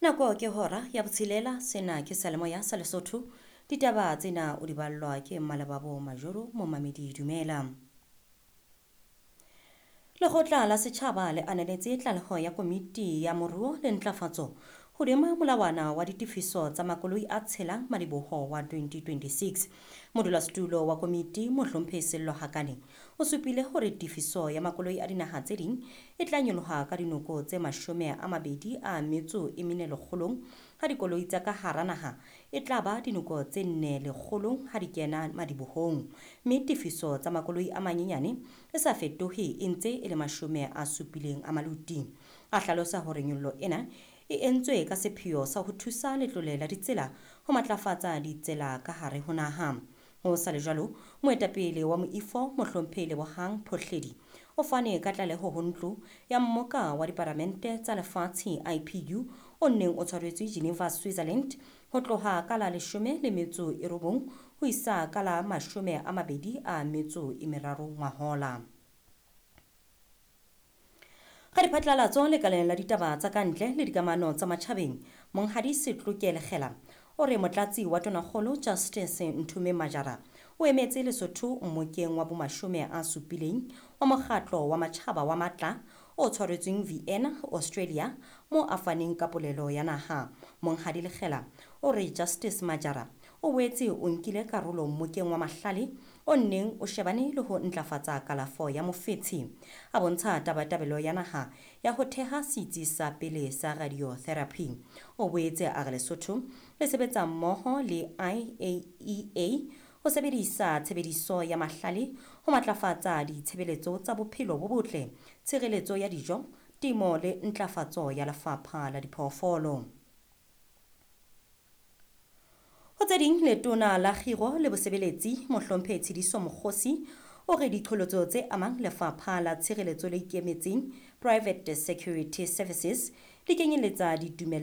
Nako ke hora ya botshelela. Sena ke Seyalemoya sa Lesotho. Ditaba tsena o di ballwa ke Mmalebabo Majoro. Momamedi, dumela. Lekgotla la Setjhaba le ananetse tlaleho ya Komiti ya Moruo le Ntlafatso hodima molawana wa ditefiso tsa makoloi a tshelang madiboho wa 2026. Modulasetulo wa komiti, Mohlomphehi Sello Hakane, o supile hore tefiso ya makoloi a dinaha tse ding e tla nyoloha ka dinoko tse 24 lekgolong, ha dikoloi tsa ka hara naha e tla ba dinoko tse 4 lekgolong ha di kena madibohong, mme tefiso tsa makoloi a manyenyane e sa fetohe, e ntse e le 70 a maluti. A hlalosa hore nyollo ena e entswe ka sepheo sa ho thusa letlole la ditsela ho matlafatsa ditsela ka hare ho naha. Ho sa le jwalo, moetapele wa moifo, Mohlomphehi Lebohang Phohledi, o fane ka tlaleho ho Ntlo ya Mmoka wa Diparamente tsa Lefatshe, IPU, o neng o tshwaretswe Geneva, Switzerland, ho tloha ka la 19 ho isa ka la 23 ngwahola. Ka diphatlalatso lekaleng la ditaba tsa kantle le dikamano tsa matjhabeng, Monghadi Setloke Lekgela o re motlatsi wa tonakgolo Justice Nthume Majara o emetse Lesotho mmokeng wa bomashome a supileng wa Mokgatlo wa Matjhaba wa Matla o tshwaretsweng Vienna, Australia, mo a faneng ka polelo ya naha. Monghadi Lekgela o re Justice Majara o boetse o nkile karolo mmokeng wa mahlale o nneng o shebane le ho ntlafatsa kalafo ya mofetshe. A bontsha tabatabelo ya naha ya ho theha setsi sa pele sa radiotherapy. O boetse a re Lesotho le sebetsa mmoho le IAEA ho sebedisa tshebediso ya mahlale ho matlafatsa ditshebeletso tsa bophelo bo botle, tshireletso ya dijo, temo le ntlafatso ya lefapha la diphoofolo. Ho tse ding, letona la Kgiro le Bosebeletsi, Mohlomphehi Tshidiso Mokgosi, o re diqholotso tse amang lefapha la tshireletso le ikemetseng, Private Security Services, di kenyeletsa ditumellano